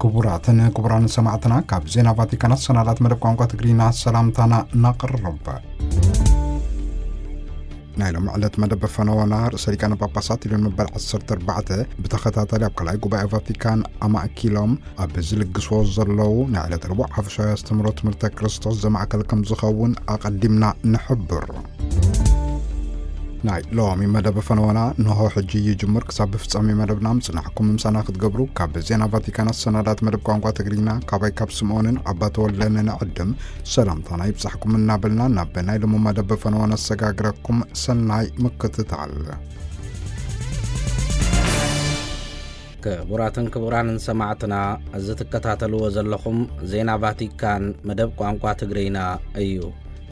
ክቡራትን ክቡራን ሰማዕትና፣ ካብ ዜና ቫቲካን ኣሰናዳት መደብ ቋንቋ ትግርኛ ሰላምታና ነቕርብ። ናይ ሎም ዕለት መደብ ፈነወና ርእሰ ሊቃነ ጳጳሳት ሊዮን መበል ዓሰርተ ኣርባዕተ ብተኸታታሊ ኣብ ካልኣይ ጉባኤ ቫቲካን ኣማእኪሎም ኣብ ዝልግስዎ ዘለዉ ናይ ዕለት ረቡዕ ሓፈሻዊ ኣስተምህሮ ትምህርተ ክርስቶስ ዘማእከል ከም ዝኸውን ኣቐዲምና ንሕብር። ናይ ሎሚ መደብ ፈነወና ንሆ ሕጂ ይጅምር። ክሳብ ፍጻሜ መደብና ምጽናሕኩም ምሳና ክትገብሩ ካብ ዜና ቫቲካን ኣሰናዳት መደብ ቋንቋ ትግርኛ ካባይ ካብ ስምኦንን ኣባ ተወልደን ንዕድም ሰላምታና ይብጻሕኩም እናበልና ናብ ናይ ሎሚ መደብ ፈነወና ኣሰጋግረኩም። ሰናይ ምክትታል። ክቡራትን ክቡራንን ሰማዕትና፣ እዚ ትከታተልዎ ዘለኹም ዜና ቫቲካን መደብ ቋንቋ ትግርኛ እዩ።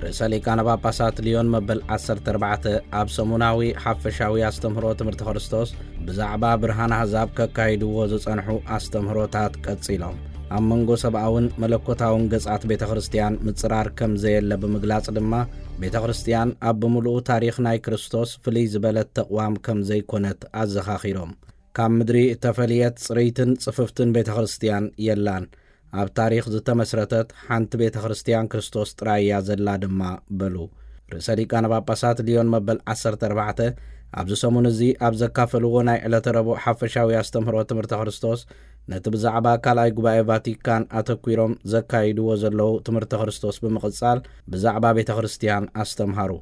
ርእሰ ሊቃነ ጳጳሳት ሊዮን መበል ዓሰርተ ኣርባዕተ ኣብ ሰሙናዊ ሓፈሻዊ ኣስተምህሮ ትምህርቲ ክርስቶስ ብዛዕባ ብርሃን ኣህዛብ ከካይድዎ ዝጸንሑ ኣስተምህሮታት ቀጺሎም፣ ኣብ መንጎ ሰብኣውን መለኮታውን ገጻት ቤተ ክርስቲያን ምጽራር ከም ዘየለ ብምግላጽ ድማ፣ ቤተ ክርስቲያን ኣብ ብምሉኡ ታሪኽ ናይ ክርስቶስ ፍልይ ዝበለት ተቕዋም ከም ዘይኮነት ኣዘኻኺሮም። ካብ ምድሪ እተፈልየት ጽርይትን ጽፍፍትን ቤተ ክርስቲያን የላን። ኣብ ታሪኽ ዝተመስረተት ሓንቲ ቤተ ክርስቲያን ክርስቶስ ጥራይ እያ ዘላ ድማ በሉ። ርእሰ ሊቃነ ጳጳሳት ሊዮን መበል ዓሰርተ ኣርባዕተ ኣብዚ ሰሙን እዚ ኣብ ዘካፈልዎ ናይ ዕለተ ረቡዕ ሓፈሻዊ ኣስተምህሮ ትምህርተ ክርስቶስ፣ ነቲ ብዛዕባ ካልኣይ ጉባኤ ቫቲካን ኣተኲሮም ዘካይድዎ ዘለዉ ትምህርተ ክርስቶስ ብምቕጻል ብዛዕባ ቤተ ክርስቲያን ኣስተምሃሩ።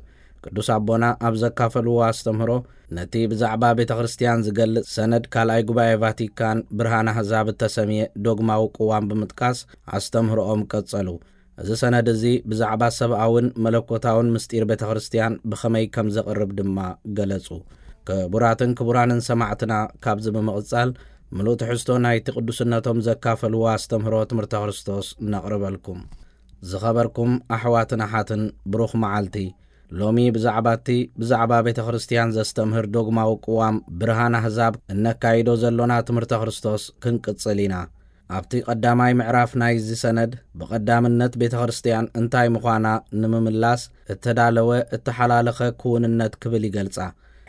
ቅዱስ ኣቦና ኣብ ዘካፈልዎ ኣስተምህሮ፣ ነቲ ብዛዕባ ቤተ ክርስቲያን ዝገልጽ ሰነድ ካልኣይ ጉባኤ ቫቲካን ብርሃን ኣህዛብ እተሰምየ ዶግማዊ ቅዋም ብምጥቃስ ኣስተምህሮኦም ቀጸሉ። እዚ ሰነድ እዚ ብዛዕባ ሰብኣውን መለኮታውን ምስጢር ቤተ ክርስቲያን ብኸመይ ከም ዘቕርብ ድማ ገለጹ። ክቡራትን ክቡራንን ሰማዕትና፣ ካብዚ ብምቕጻል ምሉእ ትሕዝቶ ናይቲ ቅዱስነቶም ዘካፈልዎ ኣስተምህሮ ትምህርተ ክርስቶስ ነቕርበልኩም። ዝኸበርኩም ኣሕዋትን ኣሓትን፣ ብሩኽ መዓልቲ። ሎሚ ብዛዕባ እቲ ብዛዕባ ቤተ ክርስቲያን ዘስተምህር ዶግማዊ ቅዋም ብርሃን ኣህዛብ እነካይዶ ዘሎና ትምህርተ ክርስቶስ ክንቅጽል ኢና። ኣብቲ ቀዳማይ ምዕራፍ ናይዚ ሰነድ ብቐዳምነት ቤተ ክርስቲያን እንታይ ምዃና ንምምላስ እተዳለወ እተሓላለኸ ክውንነት ክብል ይገልጻ።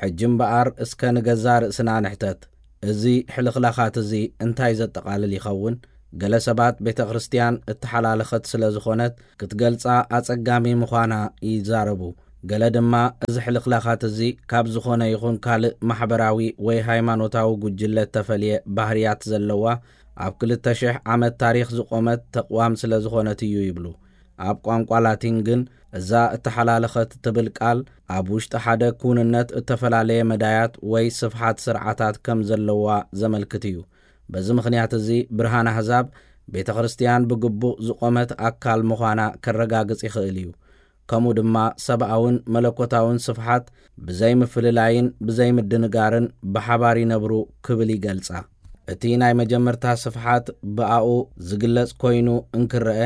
ሕጂ እምበኣር እስከ ንገዛ ርእስና ንሕተት። እዚ ሕልኽላኻት እዚ እንታይ ዘጠቓልል ይኸውን? ገለ ሰባት ቤተ ክርስቲያን እተሓላለኸት ስለ ዝኾነት ክትገልጻ ኣጸጋሚ ምዃና ይዛረቡ። ገለ ድማ እዚ ሕልኽላኻት እዚ ካብ ዝኾነ ይኹን ካልእ ማሕበራዊ ወይ ሃይማኖታዊ ጉጅለ እተፈልየ ባህርያት ዘለዋ ኣብ ክልተ ሽሕ ዓመት ታሪኽ ዝቖመት ተቕዋም ስለ ዝኾነት እዩ ይብሉ። ኣብ ቋንቋ ላቲን ግን እዛ እተሓላለኸት ትብል ቃል ኣብ ውሽጢ ሓደ ክውንነት እተፈላለየ መዳያት ወይ ስፍሓት ስርዓታት ከም ዘለዋ ዘመልክት እዩ። በዚ ምኽንያት እዚ ብርሃን ኣህዛብ ቤተ ክርስቲያን ብግቡእ ዝቖመት ኣካል ምዃና ከረጋግጽ ይኽእል እዩ። ከምኡ ድማ ሰብኣውን መለኮታውን ስፍሓት ብዘይ ምፍልላይን ብዘይ ምድንጋርን ብሓባር ይነብሩ ክብል ይገልጻ። እቲ ናይ መጀመርታ ስፍሓት ብኣኡ ዝግለጽ ኮይኑ እንክረአ፣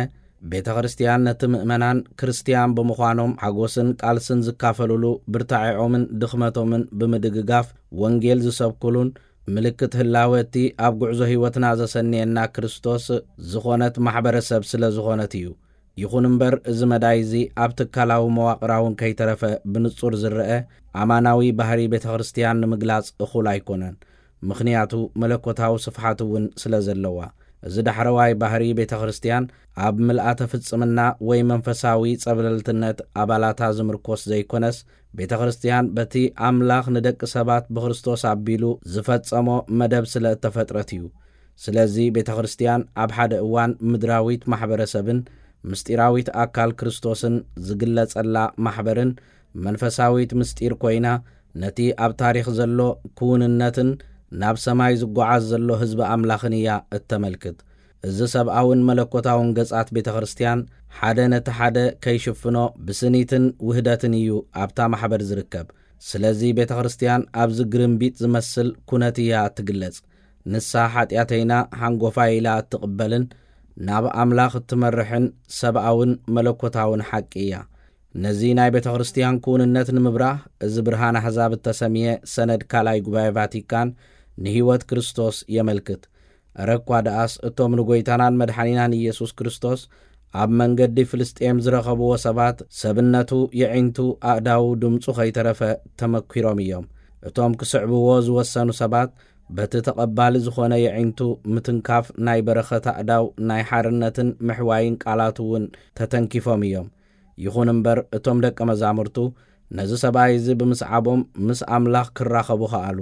ቤተ ክርስቲያን ነቲ ምእመናን ክርስቲያን ብምዃኖም ሓጎስን ቃልስን ዝካፈሉሉ፣ ብርታዒዖምን ድኽመቶምን ብምድግጋፍ ወንጌል ዝሰብኩሉን ምልክት ህላወ እቲ ኣብ ጉዕዞ ህይወትና ዘሰንየና ክርስቶስ ዝኾነት ማሕበረሰብ ስለ ዝኾነት እዩ። ይኹን እምበር፣ እዚ መዳይ እዚ ኣብ ትካላዊ መዋቕራውን ከይተረፈ ብንጹር ዝረአ ኣማናዊ ባህሪ ቤተ ክርስቲያን ንምግላጽ እኹል ኣይኮነን። ምኽንያቱ መለኮታዊ ስፍሓት እውን ስለ ዘለዋ። እዚ ዳሕረዋይ ባህሪ ቤተ ክርስቲያን ኣብ ምልኣተ ፍጽምና ወይ መንፈሳዊ ጸብለልትነት ኣባላታ ዝምርኮስ ዘይኮነስ፣ ቤተ ክርስቲያን በቲ ኣምላኽ ንደቂ ሰባት ብክርስቶስ ኣቢሉ ዝፈጸሞ መደብ ስለ እተፈጥረት እዩ። ስለዚ ቤተ ክርስቲያን ኣብ ሓደ እዋን ምድራዊት ማሕበረሰብን ምስጢራዊት ኣካል ክርስቶስን ዝግለጸላ ማሕበርን መንፈሳዊት ምስጢር ኮይና፣ ነቲ ኣብ ታሪኽ ዘሎ ክውንነትን ናብ ሰማይ ዝጓዓዝ ዘሎ ህዝቢ ኣምላኽን እያ እተመልክት። እዚ ሰብኣውን መለኮታውን ገጻት ቤተ ክርስቲያን ሓደ ነቲ ሓደ ከይሽፍኖ ብስኒትን ውህደትን እዩ ኣብታ ማሕበር ዝርከብ። ስለዚ ቤተ ክርስቲያን ኣብዚ ግርምቢጥ ዝመስል ኩነት እያ እትግለጽ። ንሳ ሓጢኣተይና ሓንጎፋይ ኢላ እትቕበልን ናብ ኣምላኽ እትመርሕን ሰብኣውን መለኮታውን ሓቂ እያ። ነዚ ናይ ቤተ ክርስቲያን ክውንነት ንምብራህ፣ እዚ ብርሃን ኣሕዛብ እተሰምየ ሰነድ ካልኣይ ጉባኤ ቫቲካን ንህይወት ክርስቶስ የመልክት። እረ እኳ ደኣስ እቶም ንጎይታናን መድሓኒናን ኢየሱስ ክርስቶስ ኣብ መንገዲ ፍልስጤም ዝረኸብዎ ሰባት፣ ሰብነቱ፣ የዒንቱ፣ ኣእዳዉ፣ ድምጹ ከይተረፈ ተመኲሮም እዮም። እቶም ክስዕብዎ ዝወሰኑ ሰባት በቲ ተቐባሊ ዝኾነ የዒንቱ ምትንካፍ ናይ በረኸት ኣእዳው ናይ ሓርነትን ምሕዋይን ቃላት እውን ተተንኪፎም እዮም። ይኹን እምበር እቶም ደቀ መዛሙርቱ ነዚ ሰብኣይ እዚ ብምስዓቦም ምስ ኣምላኽ ክራኸቡ ኸኣሉ።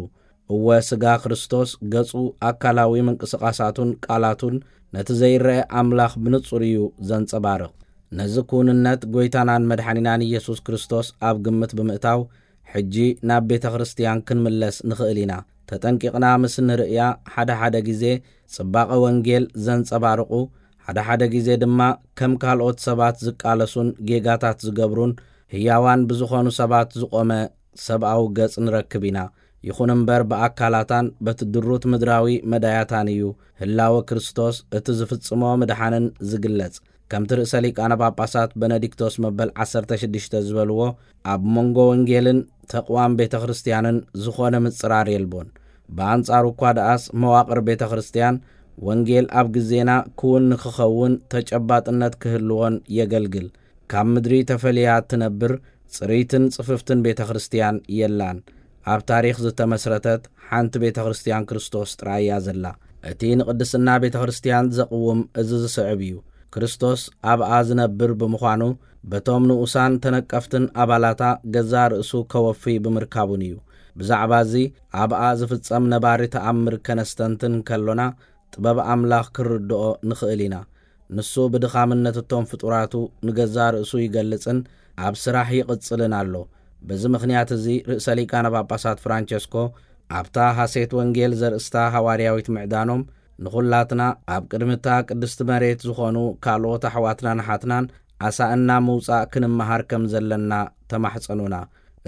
እወ፣ ስጋ ክርስቶስ ገጹ፣ ኣካላዊ ምንቅስቓሳቱን ቃላቱን ነቲ ዘይረአ ኣምላኽ ብንጹር እዩ ዘንጸባርቕ። ነዚ ክውንነት ጎይታናን መድሓኒናን ኢየሱስ ክርስቶስ ኣብ ግምት ብምእታው፣ ሕጂ ናብ ቤተ ክርስቲያን ክንምለስ ንኽእል ኢና። ተጠንቂቕና ምስ ንርእያ፣ ሓደ ሓደ ግዜ ጽባቐ ወንጌል ዘንጸባርቑ፣ ሓደ ሓደ ግዜ ድማ ከም ካልኦት ሰባት ዝቃለሱን ጌጋታት ዝገብሩን ህያዋን ብዝኾኑ ሰባት ዝቖመ ሰብኣዊ ገጽ ንረክብ ኢና። ይኹን እምበር ብኣካላታን በቲ ድሩት ምድራዊ መዳያታን እዩ ህላወ ክርስቶስ እቲ ዝፍጽሞ ምድሓንን ዝግለጽ። ከምቲ ርእሰ ሊቃነ ጳጳሳት በነዲክቶስ መበል ዓሰርተ ሽዱሽተ ዝበልዎ፣ ኣብ መንጎ ወንጌልን ተቕዋም ቤተ ክርስቲያንን ዝኾነ ምጽራር የልቦን። ብኣንጻሩ እኳ ደኣስ መዋቕር ቤተ ክርስቲያን ወንጌል ኣብ ግዜና ክውን ንክኸውን ተጨባጥነት ክህልዎን የገልግል። ካብ ምድሪ ተፈልያ እትነብር ጽርይትን ጽፍፍትን ቤተ ክርስቲያን የላን። ኣብ ታሪኽ ዝተመስረተት ሓንቲ ቤተ ክርስቲያን ክርስቶስ ጥራይ እያ ዘላ። እቲ ንቅድስና ቤተ ክርስቲያን ዘቕውም እዚ ዝስዕብ እዩ። ክርስቶስ ኣብኣ ዝነብር ብምዃኑ፣ በቶም ንኡሳን ተነቀፍትን ኣባላታ ገዛእ ርእሱ ከወፊ ብምርካቡን እዩ። ብዛዕባ እዚ ኣብኣ ዝፍጸም ነባሪ ተኣምር ከነስተንትን ከሎና፣ ጥበብ ኣምላኽ ክንርድኦ ንኽእል ኢና። ንሱ ብድኻምነት እቶም ፍጡራቱ ንገዛእ ርእሱ ይገልጽን ኣብ ስራሕ ይቕጽልን ኣሎ። በዚ ምኽንያት እዚ ርእሰ ሊቃነ ጳጳሳት ፍራንቸስኮ ኣብታ ሃሴት ወንጌል ዘርእስታ ሃዋርያዊት ምዕዳኖም፣ ንኹላትና ኣብ ቅድሚ እታ ቅድስቲ መሬት ዝኾኑ ካልኦት ኣሕዋትናን ኣሓትናን ኣሳእና ምውጻእ ክንመሃር ከም ዘለና ተማሕጸኑና።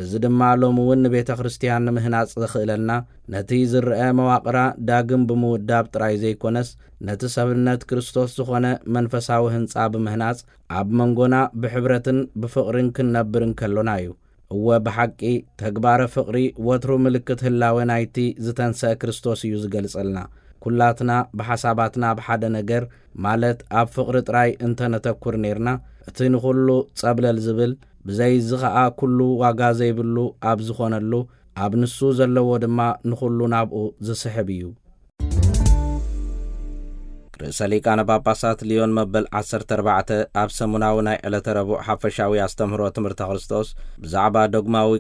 እዚ ድማ ሎሚ እውን ንቤተ ክርስቲያን ንምህናጽ ዘኽእለና፣ ነቲ ዝረአ መዋቕራ ዳግም ብምውዳብ ጥራይ ዘይኮነስ፣ ነቲ ሰብነት ክርስቶስ ዝኾነ መንፈሳዊ ህንጻ ብምህናጽ፣ ኣብ መንጎና ብሕብረትን ብፍቕርን ክንነብር እንከሎና እዩ። እወ፣ ብሓቂ ተግባረ ፍቕሪ ወትሩ ምልክት ህላወ ናይቲ ዝተንሰአ ክርስቶስ እዩ ዝገልጸልና። ኩላትና ብሓሳባትና ኣብ ሓደ ነገር፣ ማለት ኣብ ፍቕሪ ጥራይ እንተነተኩር ኔርና፣ እቲ ንኹሉ ጸብለል ዝብል፣ ብዘይ እዚ ኸኣ ኩሉ ዋጋ ዘይብሉ ኣብ ዝኾነሉ፣ ኣብ ንሱ ዘለዎ ድማ ንኹሉ ናብኡ ዝስሕብ እዩ። ርእሰ ሊቃነ ጳጳሳት ሊዮን መበል ዓሰርተ ኣርባዕተ ኣብ ሰሙናዊ ናይ ዕለተ ረቡዕ ሓፈሻዊ ኣስተምህሮ ትምህርተ ክርስቶስ ብዛዕባ ዶግማዊ